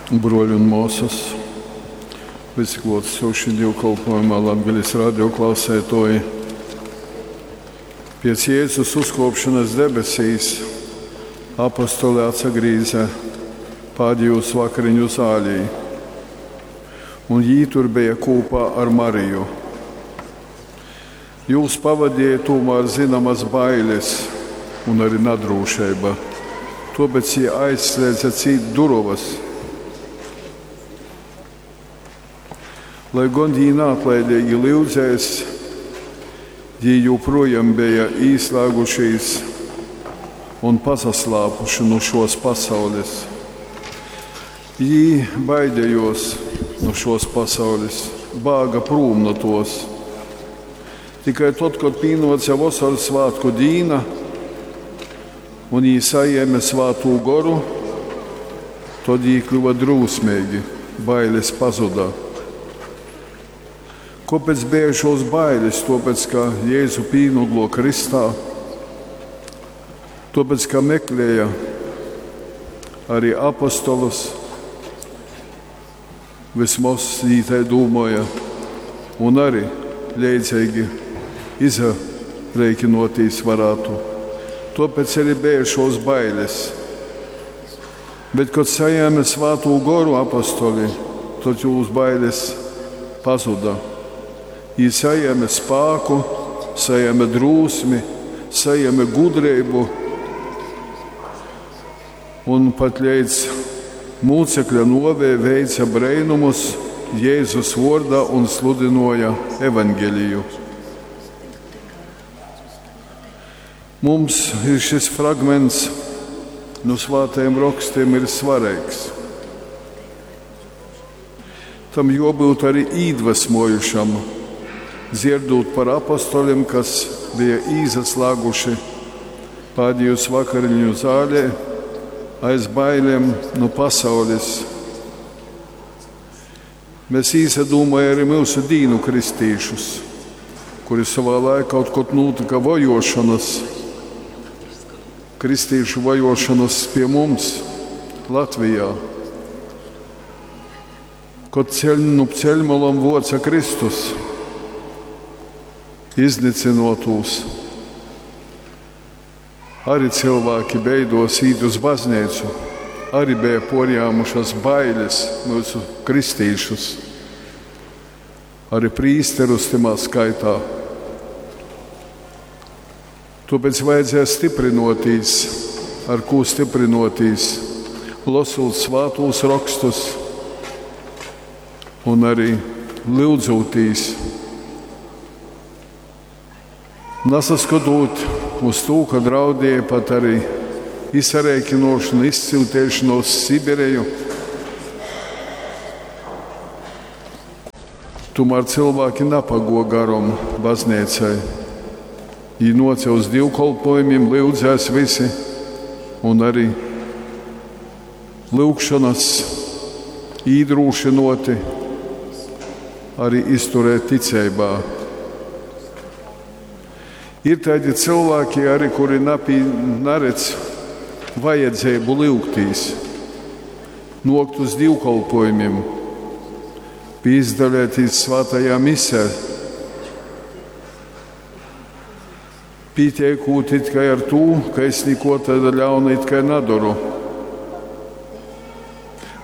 Bruoļi un muosys, vysi kluotasūšī dīvkolpuojumā Latgales radio klauseituoji. Piec Jēzus uzkuopšonys debesīs apostoli atsagrīze pādejūs vakariņu zālī, un jī tur beja kūpā ar Mariju. Jūs pavadīja tūmār zynamas bailes un arī nadrūšeiba, tuopēc jī aizslēdze cīt durovys. Lai gon jī naatlaidīgi lyudzēs, jī jūprojām beja īslāgušīs un pasaslāpuši nu šuos pasaulis. Jī baidejuos nu šuos pasaulis, bāga prūm nu tuos. Tikai tod, kod pīnuoce Vosorsvātku dīna un jī sajēme Svātū Goru, tod jī kļuva drūsmeigi, bailes pazuda. Kuopēc beja šuos bailis? Tuopēc, ka Jēzu pīnuglo krystā, tuopēc, ka meklēja arī apostolus, vismoz jī tai dūmoja, un arī leidzeigi izarēkinotīs varātu. Tuopēc arī beja šuos bailis. Bet, kod sajēme Svātū Goru apostoli, tod jūs bailes pazuda. Jī sajēme spāku, sajēme drūsmi, sajēme gudrību un pat leidz mūcekļa nuovei veica breinumus Jēzus vuordā un sludinoja evaņgeliju. Mums ir šis fragments nu svātajiem rokstiem ir svarīgs. Tam juobyut arī īdvesmojušam, dzierdūt par apostoliem, kas bija īsaslāguši pādējos vakariņu zālē aiz bailēm nu pasaules. Mēs īsadūmojam arī mūsu dīnu kristīšus, kuri savā laikā kaut kur notika vojošanas, kristīšu vojošanas pie mums Latvijā. Kod ceļ, nu ceļmalom voca Kristus, iznycynotūs. Arī cilvēki beidos īt uz baznīcu, arī bija porjāmušas bailes mūsu kristīšus, arī prīsterus timā skaitā. Tāpēc vajadzēja stiprinotīs, ar ko stiprinotīs, losot svātūs rakstus un arī lyudzūtīs. Nasaskatot uz to, ka draudēja pat arī izsarēkinošanu, izsiltēšanu uz Sibiriju. Tomēr cilvēki napago garom baznīcai. Viņi noca uz divkolpojumiem, lyudzēs visi, un arī lūgšanas īdrūšinoti arī izturēt ticībā. Ir tādi cilvēki arī, kuri napī, naredz vajadzību lūgtīs, nokt uz divkolpojumiem, pīzdalētīs svētajā misē, pītiekūt it kā ar tū, ka es neko tāda ļauna it kā nadoru.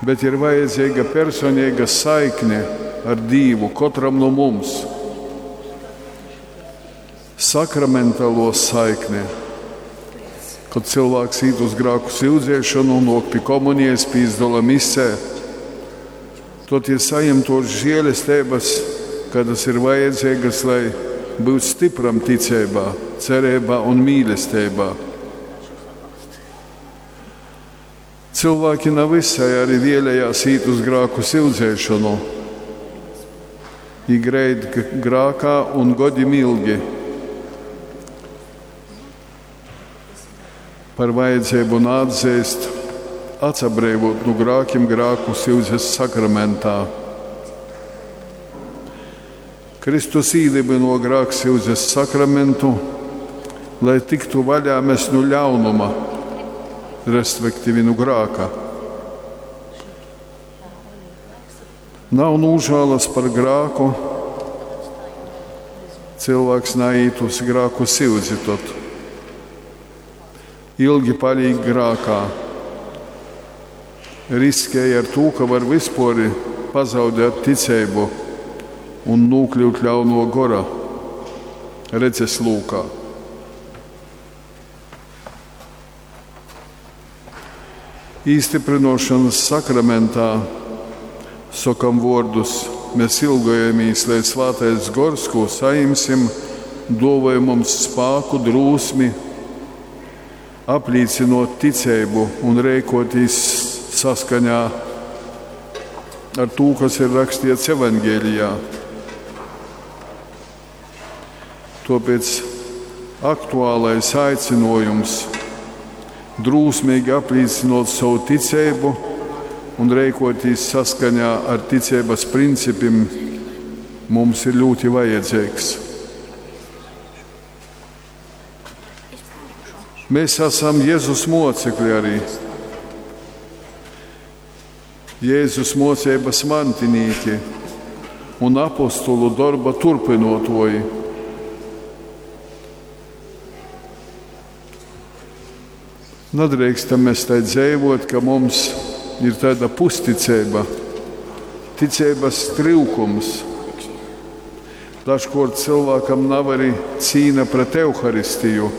Bet ir vajadzīga personīga saikne ar Dievu katram no mums. Sakramentālo saikni. Kad cilvēks īt uz grāku syudzēšanu, nok pie komunijas, pīzdola misē, tad ir saņem tos žēlestības, kādas ir vajadzīgas, lai būtu stipram ticībā, cerībā un mīlestībā. Cilvēki nav visai arī vēlējās īt uz grāku syudzēšanu. Viņi greid grākā un godim ilgi. Par vajadzību nātzīst, atsabrēvot nu grākiem grāku syudzes sakramentā. Kristus īdibino grāksyudzes sakramentu, lai tiktu vaļā mēs nu ļaunuma, respektīvi nu grāka. Nav nūžālas par grāku, cilvēks naiet uz grāku syudzi tad. Ilgi paliek grākā. Riskēja ar to, ka var vispār pazaudēt ticību un nokļūt ļauno gora redzes lūkā. Īstiprinošanas sakramentā sokam vārdus, mēs ilgojamies, lai svētais gors, ko saimsim, dāvāja mums spāku, drūsmi, apliecinot ticību un rēkoties saskaņā ar to, kas ir rakstīts Evangelijā. Tāpēc aktuālais aicinājums drūsmīgi apliecinot savu ticību un rēkoties saskaņā ar ticības principiem mums ir ļoti vajadzīgs. Mēs esam Jēzus mocekļi arī. Jēzus mocības mantinīki un apostulu darba turpinotoji. Nedrīkstam mēs tai dzīvot, ka mums ir tāda pusticība, ticības trūkums. Dažkārt cilvēkam nav arī cīņa pret Euharistiju.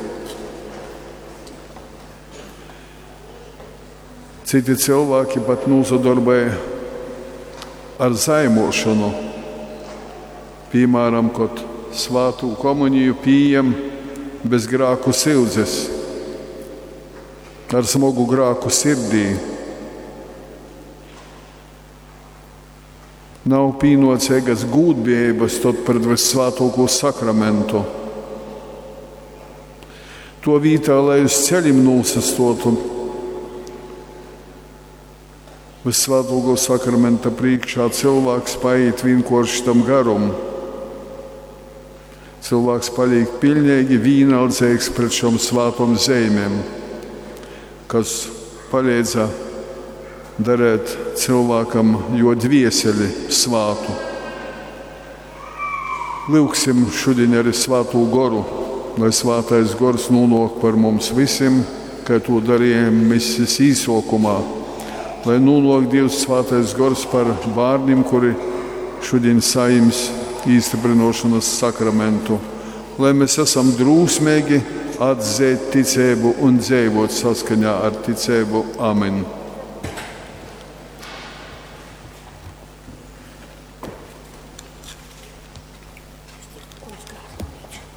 Citi cilvēki pat nozadarboja ar zaimošanu. Piemēram, kad svātu komuniju pieejam bez grāku sildzes, ar smagu grāku sirdī. Nav pienācīgas gūdbijības tad pret vissvētāko sakramentu. To vietā, lai uz ceļiem nosastotu Vissvētāko sakramenta priekšā, cilvēks paiet vienkārši tam garum. Cilvēks paliek pilnīgi vienaldzīgs pret šām svētām zīmēm, kas palīdza darīt cilvēkam jo dvieseli svātu. Lūksim šodien arī svāto goru, lai svātais gors nonāk par mums visiem, kā to darījām misijas īsokumā. Lai nonāk Dievs svātais gors par bērniem, kuri šodien saims īstiprinošanas sakramentu. Lai mēs esam drūsmīgi atzīt ticību un dzīvot saskaņā ar ticību. Amen.